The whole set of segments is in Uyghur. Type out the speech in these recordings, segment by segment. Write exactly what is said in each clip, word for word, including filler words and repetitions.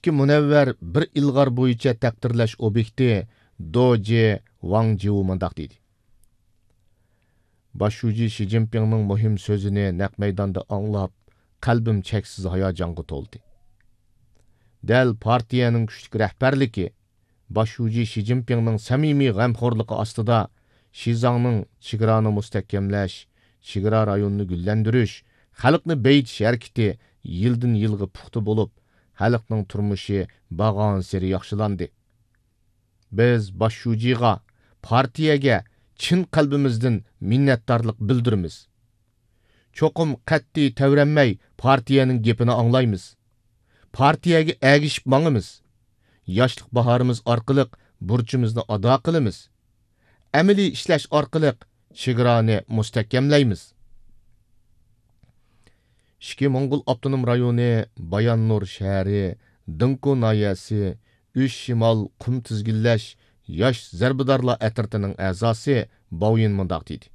ئىككى مۇنەۋۋەر بىر ئىلغار بويىچە تەقدىرلەش ئوبيېكتى دوجى ۋاڭ جيۇ مۇنداق دېدى: باش شۇجى شى جىنپىڭنىڭ مۇھىم سۆزىنى نەق مەيداندا ئاڭلاپ، قەلبىم چەكسىز ھاياجانغا تولدى. دەل پارتىيەنىڭ كۈچلۈك رەھبەرلىكى، باش شۇجى شى جىنپىڭنىڭ سەمىمىي غەمخورلۇقى ئاستىدا شىزاڭنىڭ چېگرانى مۇستەھكەملەش، چېگرا رايونىنى گۈللەندۈرۈش، خەلقنى بېيىتىش ھەرىكىتى يىلدىن يىلغا پۇختا بولۇپ، خەلقنىڭ تۇرمۇشى بارغانسېرى ياخشىلاندى. بىز باش شۇجىغا، پارتىيەگە چىن قەلبىمىزدىن مىننەتدارلىق بىلدۈرىمىز. چوقۇم قەتئىي تەۋرەنمەي پارتىيەنىڭ گېپىنى ئاڭلايمىز. پارتىيەگە ئەگىشىپ ماڭىمىز. ياشلىق باھارىمىز ئارقىلىق بۇرچىمىزنى ئادا قىلىمىز. ئەمەلىي ئىشلەش ئارقىلىق چېگرانى مۇستەھكەملەيمىز. ئىچكى موڭغۇل ئاپتونوم رايونى باياننۇر شەھىرى دىڭكۇ ناھىيەسى ئۈچ شىمال قۇم تىزگىنلەش ياش زەربىدارلار ئەترىتىنىڭ ئەزاسى باۋيىن مۇنداق دېدى: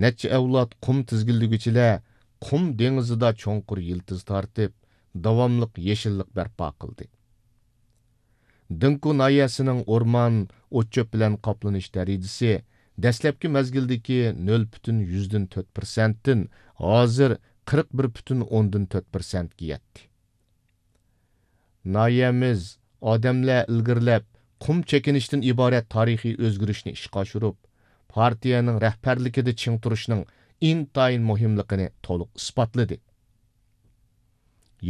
نەچچە ئەۋلاد قۇم تىزگىنلىگۈچىلەر قۇم دېڭىزىدا چوڭقۇر يىلتىز تارتىپ، داۋاملىق يېشىللىق بەرپا قىلدى. دىڭكۇ ناھىيەسىنىڭ ئورمان، ئوت-چۆپ بىلەن قاپلىنىش دەرىجىسى دەسلەپكى مەزگىلدىكى نۆل پۈتۈن يۈزدىن تۆت پىرسەنتتىن ھازىر قىرىق بىر پۈتۈن ئوندىن تۆت پىرسەنتكە يەتتى. ناھىيەمىز ئادەملەر ئىلگىرىلەپ، قۇم چېكىنىشتىن ئىبارەت تارىخىي ئۆزگىرىشنى ئىشقا ئاشۇرۇپ، پارتىيەنىڭ رەھبەرلىكىدە چىڭ تۇرۇشنىڭ ئىنتايىن مۇھىملىقىنى تولۇق ئىسپاتلىدى.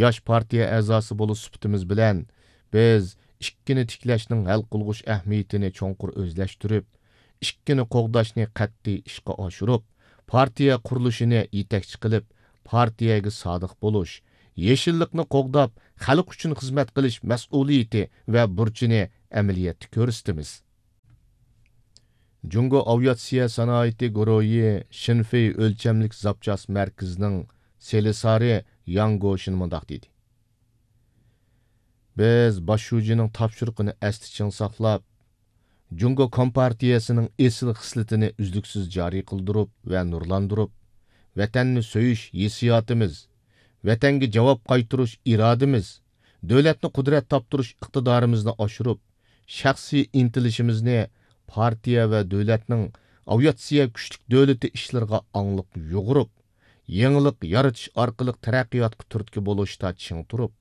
ياش پارتىيە ئەزاسى بولۇش سۈپىتىمىز بىلەن، بىز ئىككىنى تىكلەشنىڭ ھەل قىلغۇچ ئەھمىيىتىنى چوڭقۇر ئۆزلەشتۈرۈپ، ئىككىنى قوغداشنى قەتئىي ئىشقا ئاشۇرۇپ، پارتىيە قۇرۇلۇشىنى يېتەكچى قىلىپ، پارتىيەگە سادىق بولۇش، يېشىللىقنى قوغداپ، خەلق ئۈچۈن خىزمەت قىلىش مەسئۇلىيىتى ۋە بۇرچىنى ئەمەلىيەتتە كۆرسىتىمىز. جۇڭگو ئاۋىئاتسىيە سانائىتى گۇرۇھى شىنفېي ئۆلچەملىك زاپچاس مەركىزىنىڭ سېلىسارى ياڭ گوشىن مۇنداق دېدى: بىز باش شۇجىنىڭ تاپشۇرۇقىنى ئەستە چىڭ ساقلاپ، جۇڭگو كومپارتىيەسىنىڭ ئېسىل خىسلىتىنى ئۈزلۈكسىز جارى قىلدۇرۇپ ۋە نۇرلاندۇرۇپ، ۋەتەننى سۆيۈش ھېسسىياتىمىز، ۋەتەنگە جاۋاب قايتۇرۇش ئىرادىمىز، دۆلەتنى قۇدرەت تاپتۇرۇش ئىقتىدارىمىزنى ئاشۇرۇپ، شەخسىي ئىنتىلىشىمىزنى پارتىيە ۋە دۆلەتنىڭ ئاۋىئاتسىيە كۈچلۈك دۆلىتى ئىشلىرىغا ئاڭلىق يۇغۇرۇپ، يېڭىلىق يارىتىش ئارقىلىق تەرەققىياتقا تۈرتكە بولۇشتا چىڭ تۇرۇپ،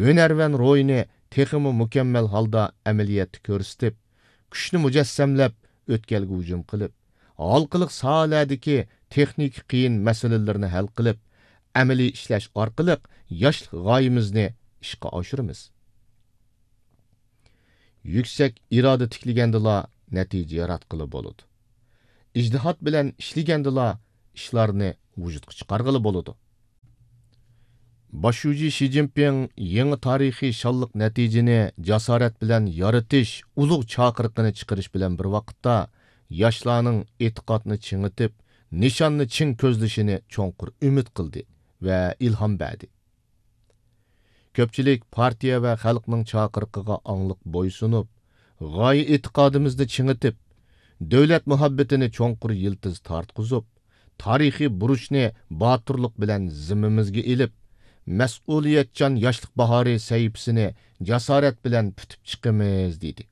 ھۈنەرۋەن روھىنى تېخىمۇ مۇكەممەل ھالدا ئەمەلىيەتتە كۆرسىتىپ، كۈچنى مۇجەسسەملەپ، ئۆتكەلگە ھۇجۇم قىلىپ، ھالقىلىق ساھەلەردىكى تېخنىكا قىيىن مەسىلىلىرىنى ھەل قىلىپ، ئەمەلىي ئىشلەش ئارقىلىق ياشلىق غايىمىزنى ئىشقا ئاشۇرىمىز. يۈكسەك ئىرادە تىكلىگەندىلا نەتىجە ياراتقىلى بولىدۇ. ئىجتىھات بىلەن ئىشلىگەندىلا ئىشلارنى ۋۇجۇدقا چىقارغىلى بولىدۇ. باش شۇجى شى جىنپىڭ يېڭى تارىخىي شانلىق نەتىجىنى جاسارەت بىلەن يارىتىش ئۇلۇغ چاقىرىقىنى چىقىرىش بىلەن بىر ۋاقىتتا، ياشلارنىڭ ئېتىقادنى چىڭىتىپ، نىشاننى چىڭ كۆزلىشىنى چوڭقۇر ئۈمىد قىلدى ۋە ئىلھام بەردى. كۆپچىلىك پارتىيە ۋە خەلقنىڭ چاقىرىقىغا ئاڭلىق بويسۇنۇپ، غايە ئېتىقادىمىزنى چىڭىتىپ، دۆلەت مۇھەببىتىنى چوڭقۇر يىلتىز تارتقۇزۇپ، تارىخىي بۇرچنى باتۇرلۇق بىلەن زىممىمىزگە ئېلىپ، مەسئۇلىيەتچان ياشلىق باھارى سەھىپىسىنى جاسارەت بىلەن پۈتۈپ چىقىمىز، دېدى.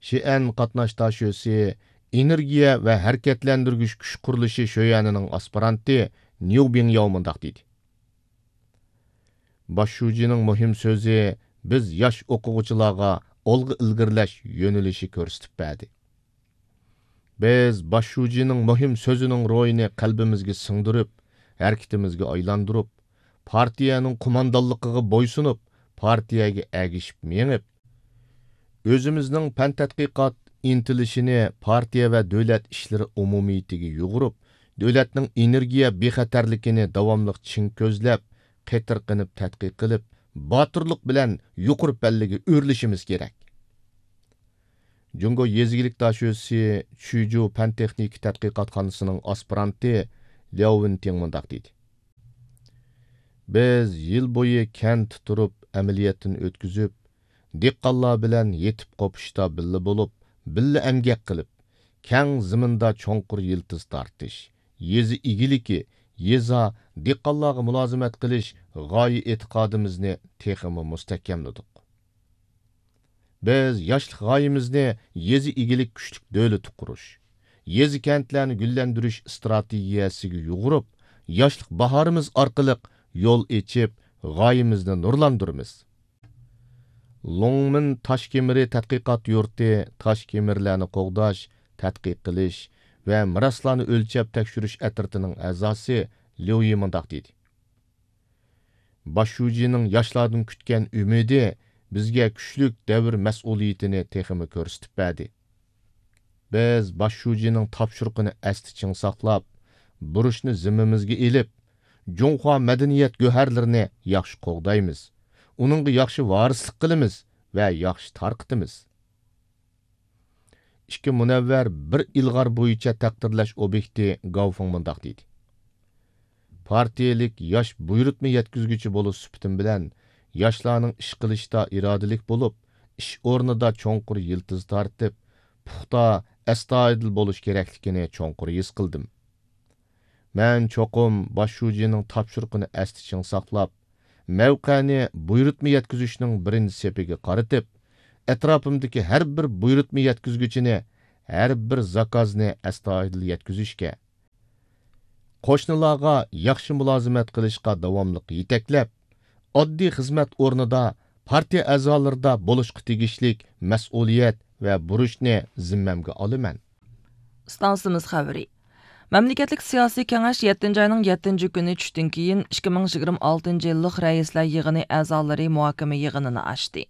شىئەن قاتناش داشۆسى، ئېنېرگىيە ۋە ھەرىكەتلەندۈرگۈچ كۈچ قۇرۇلۇشى شۆيەنىنىڭ ئاسپىرانتى نيۇ بىڭياۋ مۇنداق دېدى: باش شۇجىنىڭ مۇھىم سۆزى بىز ياش ئوقۇغۇچىلارغا ئالغا ئىلگىرىلەش يۆنىلىشى كۆرسىتىپ بەردى. بىز باش شۇجىنىڭ مۇھىم سۆزىنىڭ روھىنى قەلبىمىزگە سىڭدۈرۈپ، ھەرىكىتىمىزگە ئايلاندۇرۇپ، پارتىيەنىڭ قوماندانلىقىغا بويسۇنۇپ، پارتىيەگە ئەگىشىپ مېڭىپ، ئۆزىمىزنىڭ پەن تەتقىقات ئىنتىلىشىنى پارتىيە ۋە دۆلەت ئىشلىرى ئومۇمىيىتىگە يۇغۇرۇپ، دۆلەتنىڭ ئېنېرگىيە بىخەتەرلىكىنى داۋاملىق چىڭ كۆزلەپ، قېتىرقىنىپ تەتقىق قىلىپ، باتۇرلۇق بىلەن يۇقىرى پەللىگە ئۆرلىشىمىز كېرەك. جۇڭگو يېزا ئىگىلىك داشۆسى چۈجۇ پەن تېخنىكا تەتقىقاتخانىسىنىڭ ئاسپىرانتى لياۋ ۋېنتىڭ مۇنداق دېدى: بىز يىل بويى كەنتتە تۇرۇپ ئەمەلىيەتتىن ئۆتكۈزۈپ، دېھقانلار بىلەن يېتىپ قوپۇشتا بىللە بولۇپ، بىللە ئەمگەك قىلىپ، كەڭ زېمىندا چوڭقۇر يىلتىز تارتىش، يېزا ئىگىلىكى، يېزا، دېھقانلارغا مۇلازىمەت قىلىش غايە ئېتىقادىمىزنى تېخىمۇ مۇستەھكەملىدۇق. بىز ياشلىق غايىمىزنى يېزا ئىگىلىك كۈچلۈك دۆلىتى قۇرۇش، يېزا-كەنتلەرنى گۈللەندۈرۈش ئىستراتېگىيەسىگە يۇغۇرۇپ، ياشلىق باھارىمىز ئارقىلىق يول ئېچىپ، غايىمىزنى نۇرلاندۇرىمىز. لوڭمىن تاش كېمىرى تەتقىقات يۇرتى تاش كېمىرلەرنى قوغداش، تەتقىق قىلىش ۋە مىراسلارنى ئۆلچەپ تەكشۈرۈش ئەترىتىنىڭ ئەزاسى ليۇ يى مۇنداق دېدى: باش شۇجىنىڭ ياشلاردىن كۈتكەن ئۈمىدى بىزگە كۈچلۈك دەۋر مەسئۇلىيىتىنى تېخىمۇ كۆرسىتىپ بەردى. بىز باش شۇجىنىڭ تاپشۇرۇقىنى ئەستە چىڭ ساقلاپ، بۇرچنى زىممىمىزگە ئېلىپ، جۇڭخۇا مەدەنىيەت گۆھەرلىرىنى ياخشى قوغدايمىز، ئۇنىڭغا ياخشى ۋارىسلىق قىلىمىز ۋە ياخشى تارقىتىمىز. ئىككى مۇنەۋۋەر بىر ئىلغار بويىچە تەقدىرلەش ئوبيېكتى گاۋفېڭ مۇنداق دېدى: پارتىيەلىك ياش بۇيرۇتما يەتكۈزگۈچى بولۇش سۈپىتىم بىلەن، ياشلارنىڭ ئىش قىلىشتا ئىرادىلىك بولۇپ، ئىش ئورنىدا چوڭقۇر يىلتىز تارتىپ، پۇختا، ئەستايىدىل بولۇش كېرەكلىكىنى چوڭقۇر ھېس قىلدىم. مەن چوقۇم باش شۇجىنىڭ تاپشۇرۇقىنى ئەستە چىڭ ساقلاپ، مەۋقەنى بۇيرۇتما يەتكۈزۈشنىڭ بىرىنچى سېپىگە قارىتىپ، ئەتراپىمدىكى ھەر بىر بۇيرۇتما يەتكۈزگۈچىنى، ھەر بىر زاكازنى ئەستايىدىل يەتكۈزۈشكە، قوشنىلارغا ياخشى مۇلازىمەت قىلىشقا داۋاملىق يېتەكلەپ، ئاددىي خىزمەت ئورنىدا پارتىيە ئەزالىرىدا بولۇشقا تېگىشلىك مەسئۇلىيەت ۋە بۇرچنى زىممەمگە ئالىمەن. ئىستانسىمىز خەۋىرى. مەملىكەتلىك سىياسىي كېڭەش يەتتىنچى ئاينىڭ يەتتىنچى كۈنى چۈشتىن كېيىن ئىككى مىڭ يىگىرمە ئالتىنچى يىللىق رەئىسلەر يىغىنى ئەزالىرى مۇھاكىمە يىغىنىنى ئاچتى.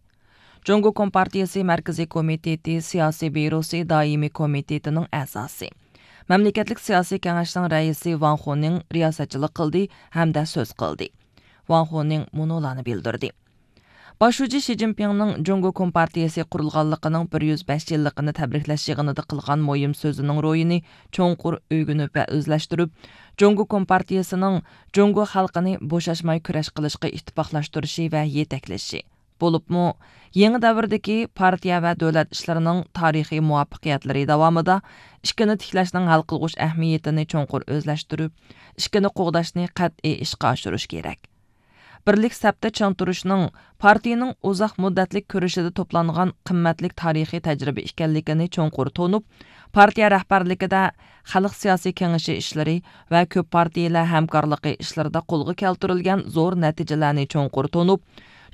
جۇڭگو كومپارتىيىسى مەركىزىي كومىتېتى سىياسىي بيۇروسى دائىمىي كومىتېتىنىڭ ئەزاسى، مەملىكەتلىك سىياسىي كېڭەشنىڭ رەئىسى ۋاڭ خۇنىڭ رىياسەتچىلىك قىلدى ھەمدە سۆز قىلدى. ۋاڭ خۇنىڭ مۇنۇلارنى بىلدۈردى. باش شۇجى شى جىنپىڭنىڭ جۇڭگو كومپارتىيىسى قۇرۇلغانلىقىنىڭ بىر يۈز بەش يىللىقىنى تەبرىكلەش يىغىنىدا قىلغان مۇھىم سۆزىنىڭ روھىنى چوڭقۇر ئۆگىنىپ ۋە ئۆزلەشتۈرۈپ، جۇڭگو كومپارتىيىسىنىڭ جۇڭگو خەلقىنى بوشاشماي كۈرەش قىلىشقا ئىتتىپاقلاشتۇرۇشى ۋە يېتەكلىشى، بولۇپمۇ يېڭى دەۋردىكى پارتىيە ۋە دۆلەت ئىشلىرىنىڭ تارىخىي مۇۋەپپەقىيەتلىرى داۋامىدا ئىككىنى تىكلەشنىڭ ھەل قىلغۇچ ئەھمىيىتىنى چوڭقۇر ئۆزلەشتۈرۈپ، ئىككىنى قوغداشنى قەتئىي ئىشقا ئاشۇرۇش كېرەك. بىرلىك سەپتە چىڭ تۇرۇشنىڭ پارتىيىنىڭ ئۇزاق مۇددەتلىك كۈرىشىدە توپلانغان قىممەتلىك تارىخىي تەجرىبە ئىكەنلىكىنى چوڭقۇر تونۇپ، پارتىيە رەھبەرلىكىدە خەلق سىياسىي كېڭىشى ئىشلىرى ۋە كۆپ پارتىيىلەر ھەمكارلىقى ئىشلىرىدا قولغا كەلتۈرۈلگەن زور نەتىجىلەرنى چوڭقۇر تونۇپ،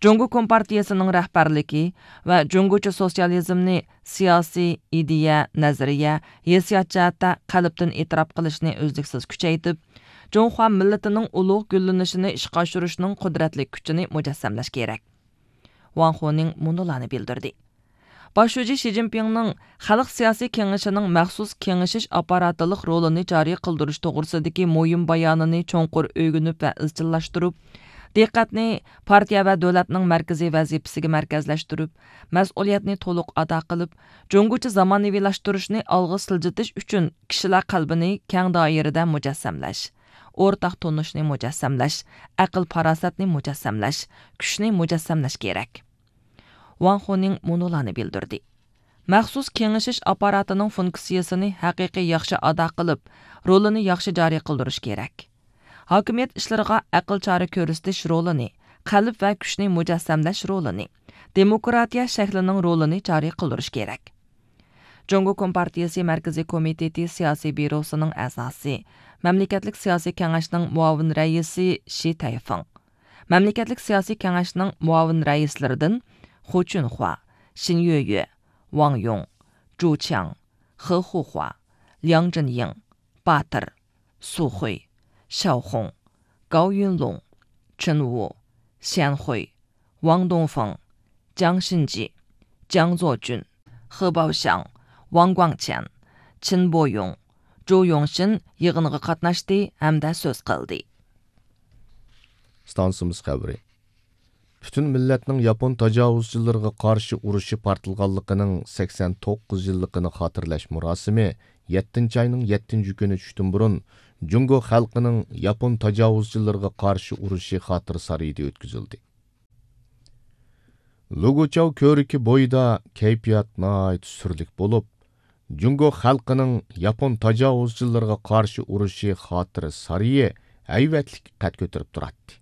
جۇڭگو كومپارتىيىسىنىڭ رەھبەرلىكى ۋە جۇڭگوچە سوتسىيالىزمنى سىياسىي، ئىدىيە، نەزەرىيە، ھېسسىيات جەھەتتە قەلبتىن ئېتىراپ قىلىشنى ئۈزلۈكسىز كۈچەيتىپ، جۇڭخۇا مىللىتىنىڭ ئۇلۇغ گۈللىنىشىنى ئىشقا ئاشۇرۇشنىڭ قۇدرەتلىك كۈچىنى مۇجەسسەملەش كېرەك. ۋاڭ خۇنىڭ مۇنۇلارنى بىلدۈردى. باش شۇجى شى جىنپىڭنىڭ خەلق سىياسىي كېڭىشىنىڭ مەخسۇس كېڭىشىش ئاپپاراتلىق رولىنى جارى قىلدۇرۇش توغرىسىدىكى مۇھىم بايانىنى چوڭقۇر ئۆگىنىپ ۋە ئىزچىللاشتۇرۇپ، دىققەتنى پارتىيە ۋە دۆلەتنىڭ مەركىزىي ۋەزىپىسىگە مەركەزلەشتۈرۈپ، مەسئۇلىيەتنى تولۇق ئادا قىلىپ، جۇڭگوچە زامانىۋىلاشتۇرۇشنى ئالغا سىلجىتىش ئۈچۈن كىشىلەر قەلبىنى كەڭ دائىرىدە مۇجەسسەملەش، ئورتاق تونۇشنى مۇجەسسەملەش، ئەقىل-پاراسەتنى مۇجەسسەملەش، كۈچنى مۇجەسسەملەش كېرەك. ۋاڭ خۇنىڭ مۇنۇلارنى بىلدۈردى. مەخسۇس كېڭىشىش ئاپپاراتىنىڭ فۇنكسىيىسىنى ھەقىقىي ياخشى ئادا قىلىپ، رولىنى ياخشى جارى قىلدۇرۇش كېرەك. ھاكىمىيەت ئىشلىرىغا ئەقىل چارە كۆرسىتىش رولىنى، قەلب ۋە كۈچنى مۇجەسسەملەش رولىنى، دېموكراتىيە شەكلىنىڭ رولىنى جارى قىلدۇرۇش كېرەك. جۇڭگو كومپارتىيىسى مەركىزىي كومىتېتى سىياسىي بيۇروسىنىڭ ئەزاسى، مەملىكەتلىك سىياسىي كېڭەشنىڭ مۇئاۋىن رەئىسى شى تەيفېڭ، مەملىكەتلىك سىياسىي كېڭەشنىڭ مۇئاۋىن رەئىسلىرىدىن خۇ چۈنخۇا، شىن يۆيۆ، ۋاڭ يۇڭ، جۇ چياڭ، خې خۇخۇا، لياڭ جىنيىڭ، باتىر، سۇ خۇي، شياۋ خۇڭ، گاۋ يۈنلۇڭ، چېن ۋۇ، شيەن خۇي، ۋاڭ دۇڭفېڭ، جياڭ شىنجى، جياڭ زوجۈن، خې باۋشياڭ، ۋاڭ گۇاڭچيەن، چېن بويۇڭ، جۇ يۇڭشىن يىغىنغا قاتناشتى ھەمدە سۆز قىلدى. ئىستانسىمىز خەۋىرى. پۈتۈن مىللەتنىڭ ياپون تاجاۋۇزچىلىرىغا قارشى ئۇرۇشى پارتلىغانلىقىنىڭ سەكسەن توققۇز يىللىقىنى خاتىرىلەش مۇراسىمى يەتتىنچى ئاينىڭ يەتتىنچى كۈنى چۈشتىن بۇرۇن جۇڭگو خەلقىنىڭ ياپون تاجاۋۇزچىلىرىغا قارشى ئۇرۇشى خاتىرە سارىيىدا ئۆتكۈزۈلدى. لۇگۇچاۋ كۆۋرۈكى بويىدا كەيپىيات ناھايىتى سۈرلۈك بولۇپ، جۇڭگو خەلقىنىڭ ياپون تاجاۋۇزچىلىرىغا قارشى ئۇرۇشى خاتىرە سارىيى ھەيۋەتلىك قەد كۆتۈرۈپ تۇراتتى.